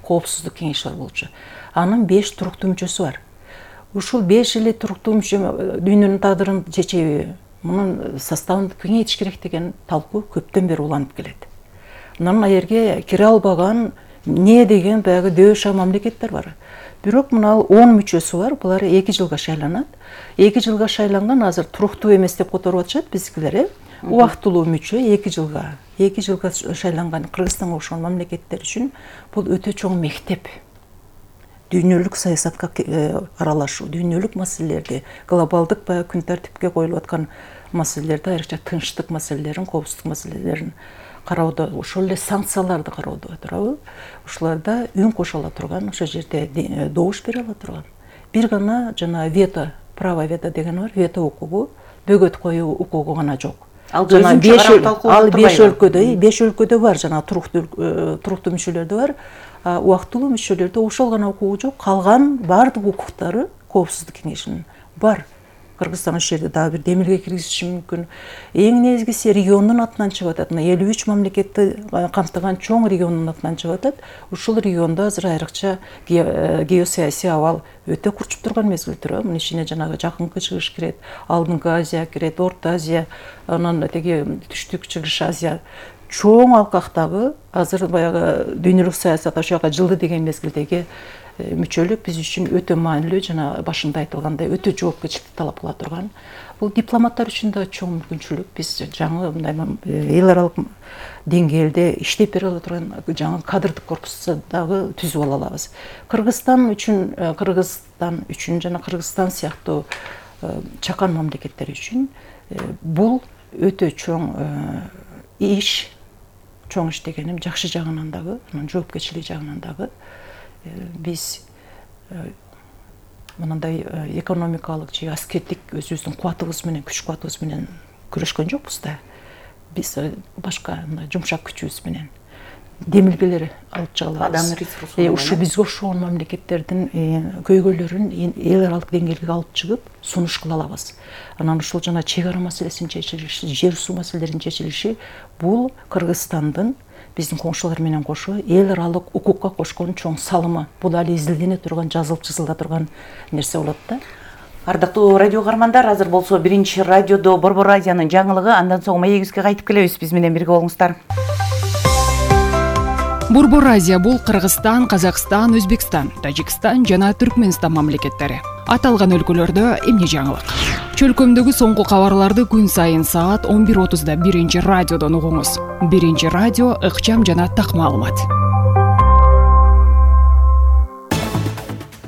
коопсуздук кеңеши бар болчу. Анын 5 туруктуу мүчөсү бар. Ушул 5 эле туруктуу мүчө дүйнөнүн тагдырын чечеби, мунун составын кеңейтиш керек деген талкуу көптөн бери уланып келет. Анан аерге кире албаган не деген баягы дөша мамлекеттер бар. Бирок мына 10 мүчөсү бар, булар 2 жылга шайланат. 2 жылга шайланган азыр туруктуу эмес деп которуп атышат биздикилер, убактылуу мүчө 2 жылга шайланган Кыргызстанга окшогон мамлекеттер үчүн бул өтө чоң мектеп. Дүйнөлүк саясатка аралашуу, дүйнөлүк маселелерди, глобалдык баягы күн тартипке коюлуп аткан маселелерди, айрыкча тынчтык маселелерин, коопсуздук маселелерин кароодо, ошол эле санкцияларды кароодо, туурабы? Ушуларда үн кошо ала турган, ошол жерде добуш бере ала турган. Бир гана жана вето, право вето деген бар, вето укугу, бөгөт коюу укугу гана жок. Ал 5 өлкөдө бар, жана туруктуу мүчөлөрдө бар, убактылуу мүчөлөрдө ошол гана укугу жок, калган баардык укуктары коопсуздук кеңешинин бар. Кыргызстан ошол жерде дагы бир демилге киргизиши мүмкүн. Эң негизгиси региондун атынан чыгып атат. 53 мамлекетти камтыган чоң региондун атынан чыгып атат. Ушул региондо азыр айрыкча геосаясий абал өтө курчуп турган мезгилдер. Мунун ичине жанагы Жакынкы Чыгыш кирет, Алдыңкы Азия кирет, Орто Азия, анан теги Түштүк Чыгыш Азия. Чоң алкактагы азыр баягы дүйнөлүк саясат ошого жылды деген мезгилдеги мүчөлүк биз үчүн өтө маанилүү, жана башында айтылгандай өтө жоопкерчиликти талап кыла турган. Бул дипломаттар үчүн да чоң мүмкүнчүлүк. Биз жаңы мындай эл аралык деңгээлде иштеп бере ала турган жаңы кадрдык корпусту дагы түзүп ала алабыз. Кыргызстан үчүн жана Кыргызстан сыяктуу чакан мамлекеттер үчүн бул өтө чоң иш. Чоң иш дегеним жакшы жагынан дагы, анан жоопкерчилик жагынан дагы биз мындай экономикалык же аскердик өзүбүздүн кубатыбыз менен, күч кубатыбыз менен күрөшкөн жокпуз да. Биз башка жумшак күчүбүз менен демилгелер алып чыга алабыз. Адам ресурсу. Ушу бизге окшогон мамлекеттердин көйгөйлөрүн эл аралык деңгээлге алып чыгып сунуш кыла алабыз. Анан ушул жана чек ара маселесинин чечилиши, жер суу маселелеринин чечилиши бул Кыргызстандын биздин коңшулар менен кошо эл аралык укукка кошкон чоң салымы. Бул али изилдене турган, жазылып чызыла турган нерсе болот да. Ардактуу радио каармандар, азыр болсо биринчи радиодо Борбор радионун жаңылыгы, андан соң маегибизге кайтып келебиз. Биз менен бирге болуңуздар. Борбор Азия бул Кыргызстан, Казакстан, Өзбекстан, Тажикстан жана Түркмөнстан мамлекеттери. Аталган өлкөлөрдө эмне жаңылык? Чөлкөмдөгү соңку кабарларды күн сайын саат 11:30да биринчи радиодон угуңуз. Биринчи радио ыкчам жана так маалымат.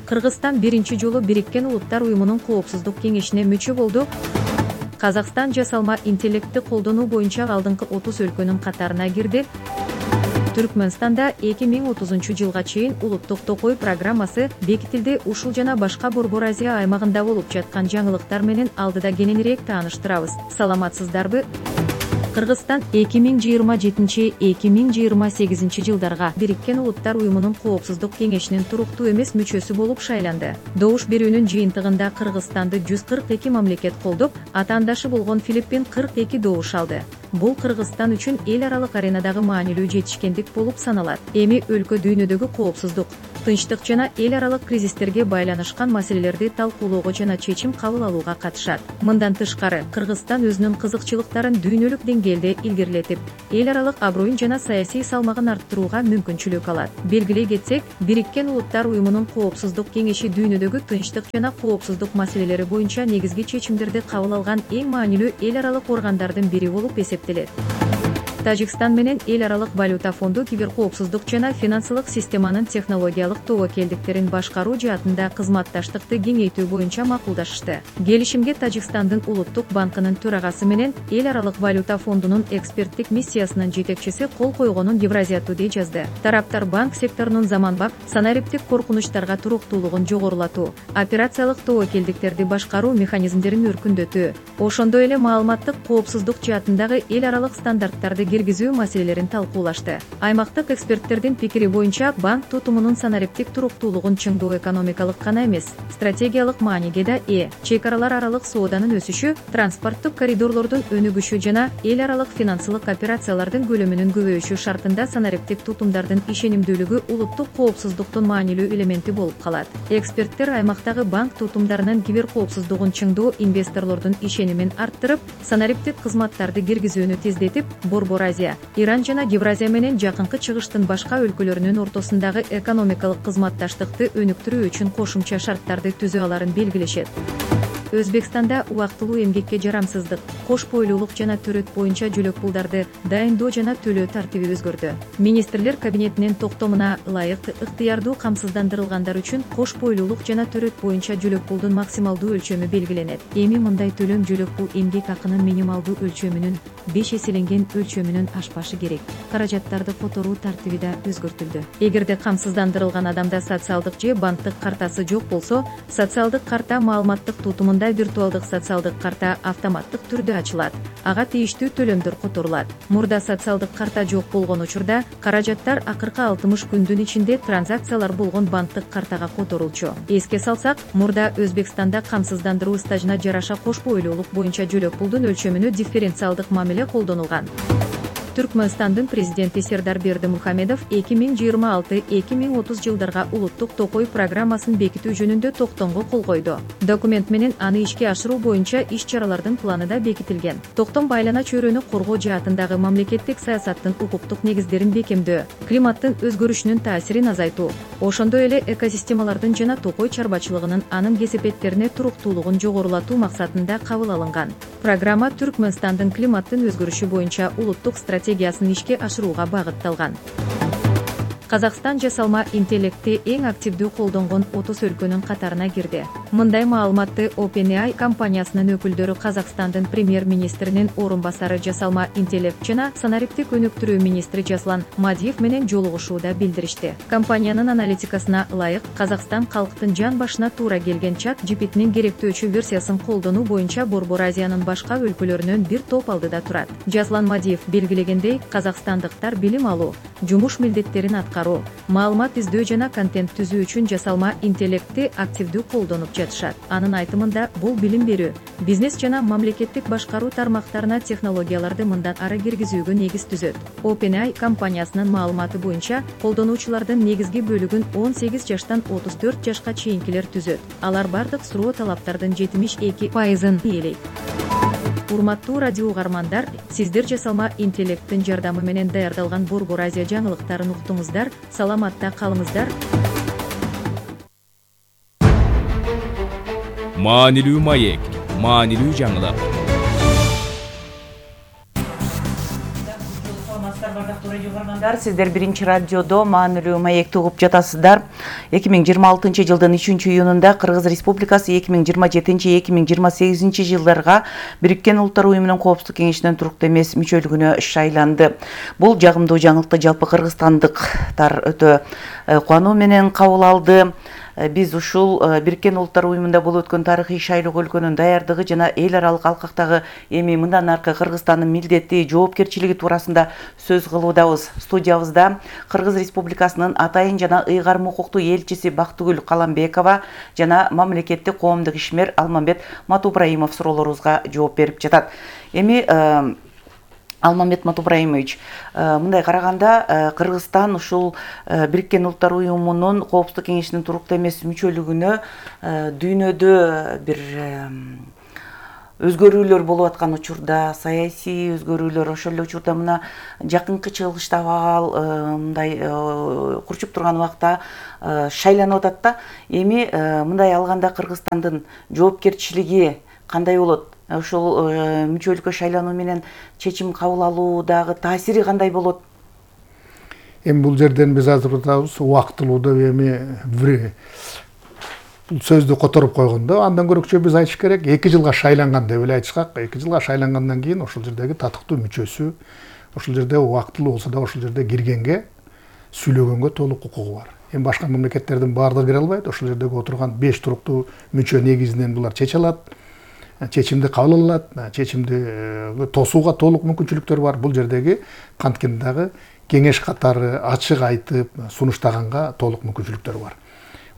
Кыргызстан биринчи жолу Бириккен Улуттар уюмунун коопсуздук кеңешине мүчө болду. Казакстан жасалма интеллектти колдонуу боюнча алдыңкы 30 өлкөнүн катарына кирди. Түркмөнстанда 2030 жылга чейин улуттук токой программасы бекитилди. Ушул жана башка Борбор Азия аймагында болуп жаткан жаңылыктар менен алдыда кененирээк тааныштырабыз. Саламатсыздарбы? Кыргызстан 2027-2028 жылдарга Бириккен Улуттар уюмунун Коопсуздук кеңешинин туруктуу эмес мүчөсү болуп шайланды. Добуш берүүнүн жыйынтыгында Кыргызстанды 142 мамлекет колдоп, атаандашы болгон Филиппин 42 добуш алды. Бул Кыргызстан үчүн эл аралык аренадагы маанилүү жетишкендик болуп саналат. Эми өлкө дүйнөдөгү коопсуздук, тынчтык жана эл аралык кризистерге байланышкан маселелерди талкуулоого жана чечим кабыл алууга катышат. Мындан тышкары, Кыргызстан өзүнүн кызыкчылыктарын дүйнөлүк деңгээлде илгерилетип, эл аралык аброюн жана саясий салмагын арттырууга мүмкүнчүлүк алат. Белгилей кетсек, Бириккен Улуттар уюмунун Коопсуздук кеңеши дүйнөдөгү тынчтык жана коопсуздук маселелери боюнча негизги чечимдерди кабыл алган эң маанилүү эл аралык органдардын бири болуп эсептелет. Тажикстан менен эл аралык валюта фонду киберкоопсуздук жана финансылык системанын технологиялык тобокелдиктерин башкаруу жаатында кызматташтыкты кеңейтүү боюнча макулдашышты. Келишимге Тажикстандын улуттук банкынын төрагасы менен эл аралык валюта фондунун эксперттик миссиясынын жетекчиси кол койгонун Евразия Today жазды. Тараптар банк секторунун заманбап санариптик коркунучтарга туруктуулугун жогорулатуу, операциялык тобокелдиктерди башкаруу механизмдерин өркүндөтүү, ошондой эле маалыматтык коопсуздук жаатындагы эл аралык стандарттарды киргизүү маселелерин талкуулашты. Аймактык эксперттердин пикири боюнча банк тутумунун санариптик туруктуулугун чыңдоо экономикалык гана эмес, стратегиялык мааниге да ээ. Чек аралык сооданын өсүшү, транспорттук коридорлордун өнүгүшү жана эл аралык финансылык операциялардын көлөмүнүн көбөйүшү шартында санариптик тутумдардын ишенимдүүлүгү улуттук коопсуздуктун маанилүү элементи болуп калат. Эксперттер аймактагы банк тутумдарынын киберкоопсуздугун чыңдоо инвесторлордун ишенимин арттырып, санариптик кызматтарды киргизүүнү тездетип, Борбор Азия, Иран жана Евразия менен Жакынкы Чыгыштын башка өлкөлөрүнүн ортосундагы экономикалык кызматташтыкты өнүктүрүү үчүн кошумча шарттарды түзүү аларын белгилешет. Өзбекстанда убактылуу эмгекке жарамсыздык, кош бойлуулук жана төрөт боюнча жөлөк пулдарды дайындоо жана төлөө тартиби өзгөрдү. Министрлер кабинетинин токтомуна ылайык ыктыярдуу камсыздандырылгандар үчүн кош бойлуулук жана төрөт боюнча жөлөк пулдун максималдуу өлчөмү белгиленет. Эми мындай төлөм жөлөк пул эмгек акынын минималдуу өлчөмүнүн 5 эселенген өлчөмүнүн ашпашы керек. Каражаттарды которуу тартиби да өзгөртүлдү. Эгерде камсыздандырылган адамда социалдык же банктык картасы жок болсо, социалдык карта маалыматтык тутумунда виртуалдык социалдык карта автоматтык түрдө ачылат. Ага тийиштүү төлөмдөр которулат. Мурда социалдык карта жок болгон учурда каражаттар акыркы 60 күндүн ичинде транзакциялар болгон банктык картага которулчу. Эске салсак, мурда Өзбекстанда камсыздандыруу стажына жараша кош бойлуулук боюнча жөлөк пулдун өлчөмүнө дифференциалдык мамиле колдонулган. Түркмөнстандын президенти Сердар Бердимухамедов 2026-2030 жылдарга улуттук токой программасын бекитүү жөнүндө токтомго кол койду. Документ менен аны ишке ашыруу боюнча иш-чаралардын планы да бекитилген. Токтом байлана чөйрөнү коргоо жаатындагы мамлекеттик саясаттын укуктук негиздерин бекемдөө, климаттын өзгөрүшүнүн таасирин азайтуу, ошондой эле экосистемалардын жана токой чарбачылыгынын анын кесепеттерине туруктуулугун жогорулатуу максатында кабыл алынган. Программа Түркмөнстандын климаттын өзгөрүшү боюнча улуттук стратегиясын ишке ашырууга багытталган. Казакстан жасалма интеллектти эң активдүү колдонгон 30 өлкөнүн катарына кирди. Мындай маалыматты OpenAI компаниясынын өкүлдөрү Казакстандын премьер-министринин орун басары жасалма интеллект жана санариптик өнүктүрүү министри Жаслан Мадиев менен жолугушууда билдиришти. Компаниянын аналитикасына ылайык, Казакстан калктын жан башына туура келген чат GPT-нин керектөөчү версиясын колдонуу боюнча Борбор Азиянын башка өлкөлөрүнөн бир топ алдыда турат. Жаслан Мадиев белгилегендей, казакстандыктар билим алуу, жумуш милдеттерин маалымат издөө жана контент түзүү үчүн жасалма интеллектти активдүү колдонуп жатышат. Анын айтымында, бул билим берүү, бизнес жана мамлекеттик башкаруу тармактарына технологияларды мындан ары киргизүүгө негиз түзөт. OpenAI компаниясынын маалыматы боюнча, колдонуучулардын негизги бөлүгүн 18 жаштан 34 жашка чейинкилер түзөт. Алар бардык суроо талаптардын 72%-ын ээлейт. Урматтуу радио угармандар, сиздер жасалма интеллекттин жардамы менен даярдалган Борбор Азия жаңылыктарын уктуңуздар. Саламатта калыңыздар. Маанилүү маек, маанилүү жаңылык. Сиздер биринчи радиодо маанилүү маекти угуп жатасыздар. 2026 жылдын 3-июнунда Кыргыз Республикасы 2027-2028 жылдарга Бириккен Улуттар уюмунун Коопсуздук кеңешинин туруктуу эмес мүчөлүгүнө шайланды. Бул жагымдуу жаңылыкты жалпы кыргызстандыктар өтө кубануу менен кабыл алды. биз ушул Бириккен Улуттар Уюмунда болуп өткөн тарыхый шайлоо өлкөнүн даярдыгы жана эл аралык алкактагы эми мындан аркы Кыргызстандын милдети, жоопкерчилиги туурасында сөз кылуудабыз. Студиябызда Кыргыз Республикасынын атайын жана ыйгарым укуктуу элчиси Бактыгүл Каламбекова жана мамлекеттик коомдук ишмер Алмамбет Матубраимов суроолорубузга жооп берип жатат. Эми Алмамбет Матубраимович, мындай караганда Кыргызстан ушул Бириккен Улуттар Уюмунун Коопсуздук кеңешинин туруктуу эмес мүчөлүгүнө дүйнөдө бир өзгөрүүлөр болуп аткан учурда, саясий өзгөрүүлөр, ошол эле учурда мына жакынкы чыгылышта абал мындай курчуп турган убакта шайланып атат да. Эми мындай алганда Кыргызстандын жоопкерчилиги кандай болот? Ошол мүчөлүккө шайлануу менен чечим кабыл алуудагы таасири кандай болот? Эми бул жерден биз айтып атабыз, убактылууда эми бир бул сөздү которуп койгондо, андан көрөкчө биз айтыш керек, 2 жылга шайланган деп эле айтышкак. 2 жылга шайлангандан кийин ошол жердеги татыктуу мүчөсү, ошол жерде убактылуу болсо да ошол жерде киргенге, сүйлөгөнгө толук укугу бар. Эми башка мамлекеттердин баардыгы кире албайт. Ошол жердеги отурган 5 туруктуу мүчө негизинен булар чече алат. Чечимди кабыл алат, чечимди тосууга толук мүмкүнчүлүктөр бар. Бул жердеги канткенде дагы кеңеш катары ачык айтып, сунуштаганга толук мүмкүнчүлүктөр бар.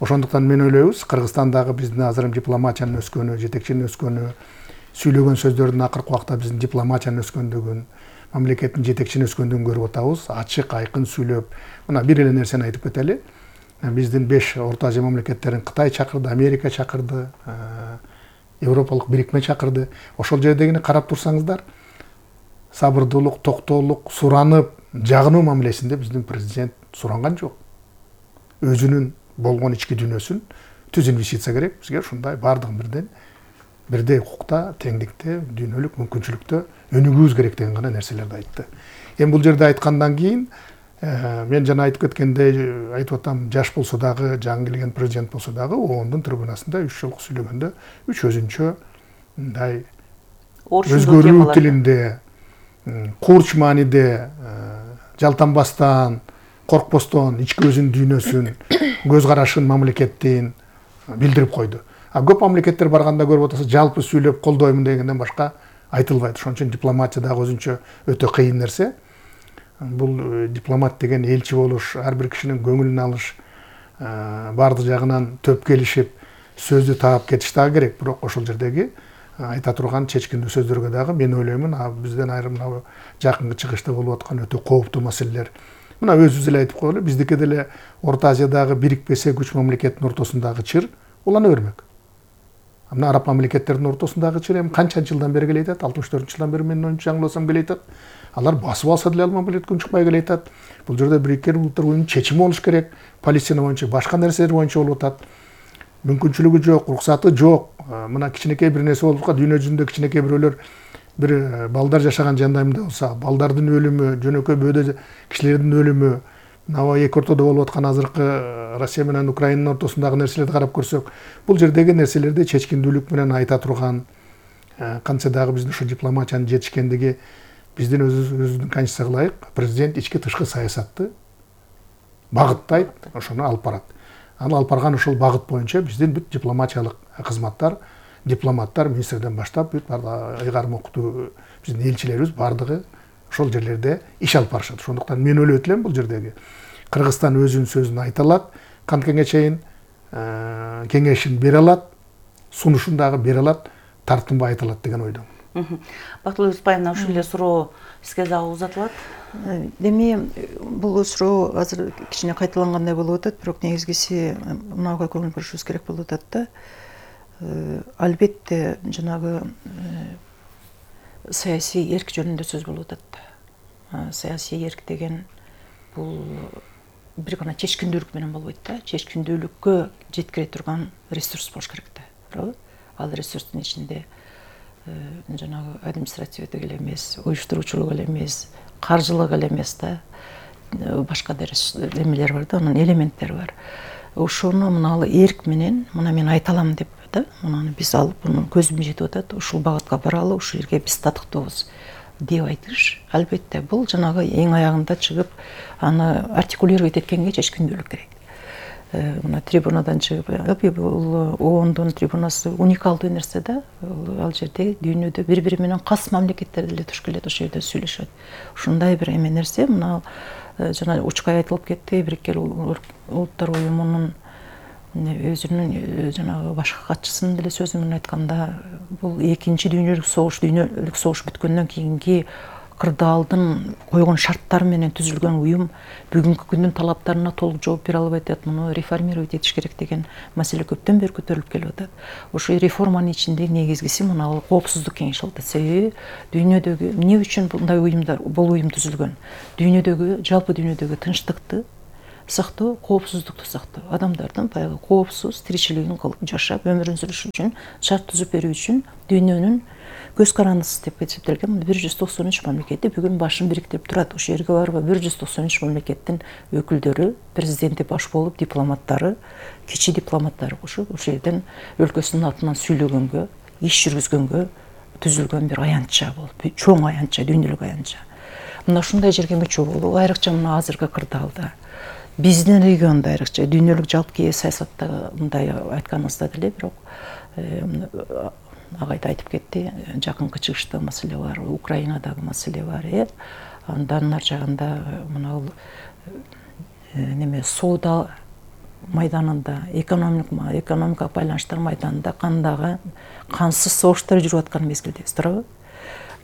Ошондуктан мен ойлойбуз, Кыргызстандагы биздин азыр дипломатиянын өскөнү, жетекчинин өскөнү, сүйлөгөн сөздөрдүн акыркы убакта биздин дипломатиянын өскөндүгүн, мамлекеттин жетекчинин өскөндүгүн көрүп атабыз. Ачык, айкын сүйлөп, мына бир эле нерсени айтып кетели. Биздин 5 Орто Азия мамлекеттерин Кытай чакырды, Америка чакырды, Европалык бирикме чакырды. Ошол жердегини карап турсаңыздар, сабырдуулук, токтоолук, суранып, жагынуу мамилесинде биздин президент суранган жок. Өзүнүн болгон ички дүйнөсүн түз инвестиция керек. Бизге ушундай баардыгын бирдей укукта, теңдикте, дүйнөлүк мүмкүнчүлүктө өнүгүүбүз керек деген гана нерселерди айтты. Эми бул жерде айткандан кийин мен жана айтып кеткендей, айтып атам, жаш болсо дагы, жаңы келген президент болсо дагы, оондун трибунасында 3 жолку сүйлөгөндө 3 өзүнчө мындай өзгөрүү тилинде, курч мааниде, жалтанбастан, коркпостон ички өзүнүн дүйнөсүн, көз карашын, мамлекеттин билдирип койду. А көп мамлекеттер барганда көрүп атасыз, жалпы сүйлөп колдоймун дегенден башка айтылбайт. Ошон үчүн дипломатия дагы өзүнчө өтө кыйын нерсе. Бул дипломат деген элчи болуш, ар бир кишинин көңүлүн алыш, баардык жагынан төп келишип, сөздү таап кетиш дагы керек. Бирок ошол жердеги айта турган чечкиндүү сөздөргө дагы мен ойлоймун, бизден айрым жакынкы чыгышта болуп аткан өтө кооптуу маселелер. Мына өзүбүз эле айтып коелу, биздики деле Орто Азиядагы бирикпесе 3 мамлекеттин ортосундагы чыр улана бермек. Мына араб мамлекеттердин ортосундагы чыр эми канча жылдан бери келе атат? 64-жылдан бери менин оюмча жаңылбасам келе атат. Алар басып алса деле ал мамлекет чыкпай келе атат. Бул жерде Бириккен Улуттар Уюмунун чечими болуш керек. Палестина боюнча, башка нерселер боюнча болуп атат. Мүмкүнчүлүгү жок, уруксаты жок. Мына кичинекей бир нерсе болуп калат, дүйнө жүзүндө кичинекей бирөөлөр бир балдар жашаган жандайымда болса, балдардын өлүмү, жөнөкөй бөөдө кишилердин өлүмү, мына эки ортодо болуп аткан азыркы Россия менен Украинанын ортосундагы нерселерди карап көрсөк, бул жердеги нерселерди чечкиндүүлүк менен айта турган, кантсе дагы биздин ушу дипломатиянын жетишкендиги биздин өзүбүздүн конституцияга ылайык президент ички тышкы саясатты багыттайт, ошону алып барат. Аны алып барган ушул багыт боюнча биздин бүт дипломатиялык кызматтар, дипломаттар, министрден баштап бүт ыйгарым укуктуу биздин элчилерибиз баардыгы ошол жерлерде иш алып барышат. Ошондуктан мен ойлойт элем, бул жердеги Кыргызстан өзүнүн сөзүн айта алат, канткенге чейин кеңешин бере алат, сунушун дагы бере алат, тартынбай айта алат деген ойдомун. Бактылуу Юсупаевна, ушул эле суроо сизге дагы узатылат. Эми бул суроо азыр кичине кайталангандай болуп атат, бирок негизгиси мынага көңүл бурушубуз керек болуп атат да. Албетте жанагы саясий эрк жөнүндө сөз болуп атат. Саясий эрк деген бул бир гана чечкиндүүлүк менен болбойт да. Чечкиндүүлүккө жеткире турган ресурс болуш керек да. Туурабы? Ал ресурстун ичинде жанагы административдик эле эмес, уюштуруучулук эле эмес, каржылык эле эмес да. Башка да эмелер бар да, анын элементтери бар. Ошону мына эрк менен, мына мен айта алам деп да, мынаны биз алып, мунун көзүм жетип атат, ушул багытка баралы, ушул жерге биз татыктуубуз деп айтыш. Албетте бул жанагы эң аягында чыгып, аны артикулировать эткенге чечкиндүүлүк керек. мына трибунадан чыгып, бул ООНдун трибунасы уникалдуу нерсе да. Ал жерде дүйнөдө бири-бири менен кас мамлекеттер деле туш келет, ошол жерде сүйлөшөт. Ушундай бир эме нерсе, мына жана учкай айтылып кетти, Бириккен Улуттар уюмунун өзүнүн жанагы башкы катчысынын деле сөзү менен айтканда, бул экинчи дүйнөлүк согуш бүткөндөн кийинки кырдаалдын койгон шарттары менен түзүлгөн уюм бүгүнкү күндүн талаптарына толук жооп бере албай атат. Муну реформировать этиш керек деген маселе көптөн бери көтөрүлүп келип атат. Ошо реформанын ичинде негизгиси мына коопсуздук кеңеши болуп атат. Себеби дүйнөдөгү эмне үчүн мындай уюмдар, бул уюм түзүлгөн? Дүйнөдөгү, жалпы дүйнөдөгү тынчтыкты сактоо, коопсуздукту сактоо, адамдардын баягы коопсуз тиричилигин кылып жашап, өмүрүн сүрүш үчүн шарт түзүп берүү үчүн дүйнөнүн көз карандысы деп эсептелген 193 мамлекети бүгүн башын бириктирип турат. Ошол жерге барып 193 мамлекеттин өкүлдөрү, президенти баш болуп, дипломаттары, кичи дипломаттары кошуп, ошол жерден өлкөсүнүн атынан сүйлөгөнгө, иш жүргүзгөнгө түзүлгөн бир аянтча болуп, чоң аянтча, дүйнөлүк аянтча. Мына ушундай жерге мүчө болуу, айрыкча мына азыркы кырдаалда, биздин региондо айрыкча дүйнөлүк жалпы саясатта мындай айтканыбызда деле, бирок агайда айтып кетти, жакынкы чыгышта маселе бар, Украинадагы маселе бар, андан ар жагында мына неме соода майданында, экономика байланыштар майданында кандагы кансыз согуштар жүрүп аткан мезгилдебиз, туурабы?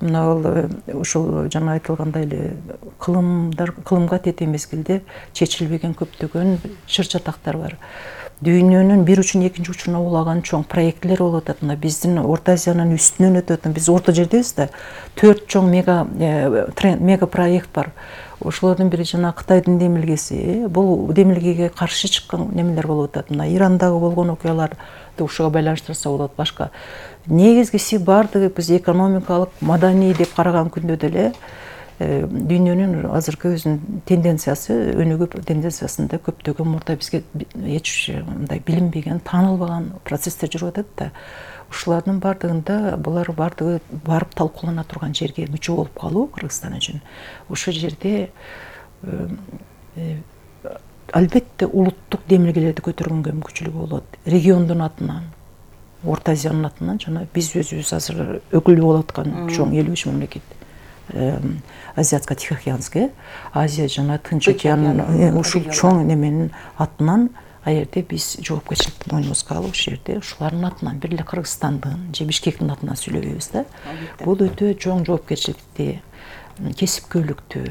Мына ушул жана айтылгандай эле кылымга тете мезгилде чечилбеген көптөгөн чыр чатактар бар. Дүйнөнүн бир учун экинчи учуна улаган чоң проектлер болуп атат. Мына биздин Орто Азиянын үстүнөн өтөт. Биз орто жердебиз да. 4 чоң мега проект бар. Ошолордун бири жана Кытайдын демилгеси. Бул демилгеге каршы чыккан немелер болуп атат. Мына Ирандагы болгон окуяларды ушуга байланыштырса болот. Башка негизгиси бардыгы биз экономикалык, маданий деп караган күндө деле дүйнөнүн азыркы өзүнүн тенденциясы, өнүгүү тенденциясында көптөгөн мурда бизге эч мындай билинбеген, таанылбаган процесстер жүрүп атат да. Ушулардын бардыгында булар бардыгы барып талкуулана турган жерге мүчө болуп калуу Кыргызстан үчүн. Ошол жерде албетте улуттук демилгелерди көтөргөнгө мүмкүнчүлүгү болот. Региондун атынан, Орто Азиянын атынан жана биз өзүбүз азыр өкүл болуп аткан чоң 53 мамлекет. Азиатско-Тихоокеанский, Азия жана Тынч океанын ушул чоң неменин атынан аерде биз жоопкерчиликти мойнубузга алып, ушул жерде ушулардын атынан бир эле Кыргызстандын же Бишкектин атынан сүйлөбөйбүз да. Бул өтө чоң жоопкерчиликти, кесипкөйлүктү,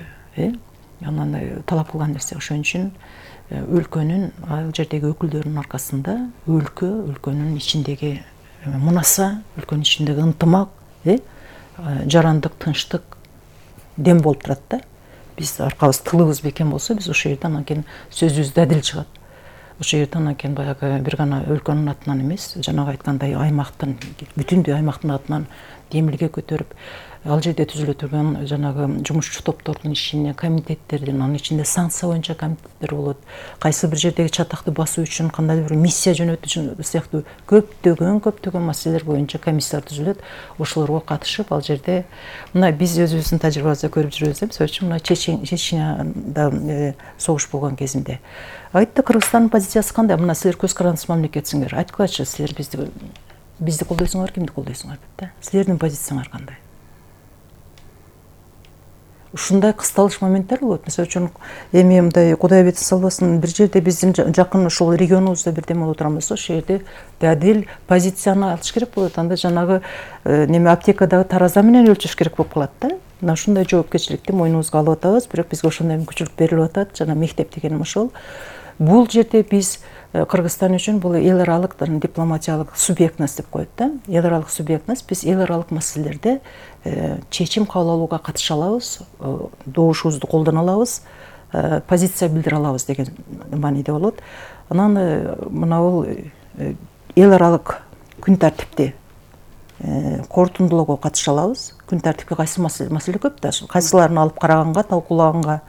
анан талап кылган нерсе. Ошон үчүн өлкөнүн ал жердеги өкүлдөрүнүн аркасында өлкөнүн ичиндеги мунаса, өлкөнүн ичиндеги ынтымак, жарандык, тынчтык дем болуп турат да. Биз аркабыз, тылыбыз бекем болсо, биз ошол жерден анан сөзүбүз дадил чыгат. Ошол жерден анан баягы бир гана өлкөнүн атынан эмес, жанагы айткандай аймактын, бүтүндөй аймактын атынан демилге көтөрүп, ал жерде түзүлө турган жанагы жумушчу топтордун ишине, комитеттердин, анын ичинде санкция боюнча комитеттер болот. Кайсы бир жердеги чатакты басуу үчүн кандайдыр бир миссия жөнөтүү сыяктуу көптөгөн маселелер боюнча комиссиялар түзүлөт. Ошолорго катышып, ал жерде мына биз өзүбүздүн тажрыйбабызда көрүп жүрөбүз, мисалы үчүн мына Чеченияда согуш болгон кезинде айтты, Кыргызстандын позициясы кандай? Мына силер көз карандысыз мамлекетсиңер. Айткылачы, силер бизди колдойсуңар, кимди колдойсуңар деп да. Силердин позицияңар кандай? Ушундай кысталыш моменттер болот. Мисалы үчүн эми мындай Кудай бетин салбасын, бир жерде биздин жакын ушул регионубузда бирдеме боло турган болсо, ошол жерде дадил позицияны алыш керек болот. Анда жанагы неме аптекадагы тараза менен өлчөш керек болуп калат да. Мына ушундай жоопкерчиликти мойнубузга алып атабыз, бирок бизге ошондой мүмкүнчүлүк берилип атат. Жана мектеп дегеним ошол. Бул жерде биз Кыргызстан үчүн бул эл аралык дипломатиялык субъектность деп коет да. Эл аралык субъектность, биз эл аралык маселелерде чечим кабыл алууга катыша алабыз, добушубузду колдоно алабыз, позиция билдире алабыз деген мааниде болот. Анан мына бул эл аралык күн тартипти корутундулоого катыша алабыз. Күн тартипке кайсы маселе көп да, кайсыларын алып караганга, талкуулаганга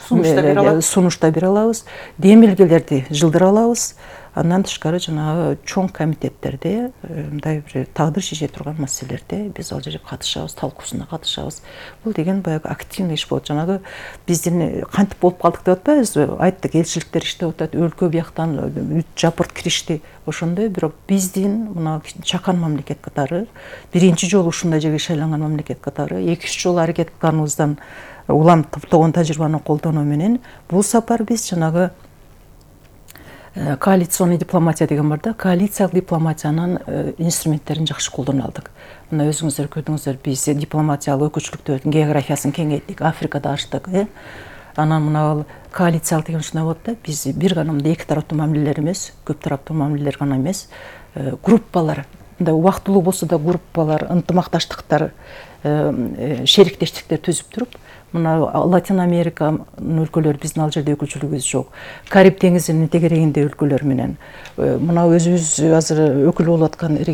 сунуш да бере алабыз, демилгелерди жылдыра алабыз. Андан тышкары жанагы чоң комитеттерде мындай бир тагдыр шеше турган маселелерде биз ал жерге катышабыз, талкуусуна катышабыз. Бул деген баягы активный иш болот. Жанагы биздин кантип болуп калдык деп атпайбызбы? Айттык, элчиликтер иштеп атат, өлкө бияктан үт жапырт киришти. Ошондой бирок биздин мына чакан мамлекет катары, биринчи жолу ушундай жерге шайланган мамлекет катары 2-3 жолу аракет кылганыбыздан улам топтогон тажрыйбаны колдонуу менен бул сапар биз жанагы коалиционный дипломатия деген бар да, коалициялык дипломатиянын инструменттерин жакшы колдоно алдык. Мына өзүңүздөр көрдүңүздөр, биз дипломатиялык өкүлчүлүктөрдүн географиясын кеңейттик, Африкада ачтык. Анан мына коалициялык деген ушундай болот да, биз бир гана мындай эки тараптуу мамилелер эмес, көп тараптуу мамилелер гана эмес, группалар, мындай убактылуу болсо да группалар, ынтымакташтыктар, шериктештиктер түзүп туруп, мына Латин Американын өлкөлөрү биздин ал жерде өкүлчүлүгүбүз жок. Кариб деңизинин тегерегинде өлкөлөр менен мына өзүбүз азыр өкүл болуп аткан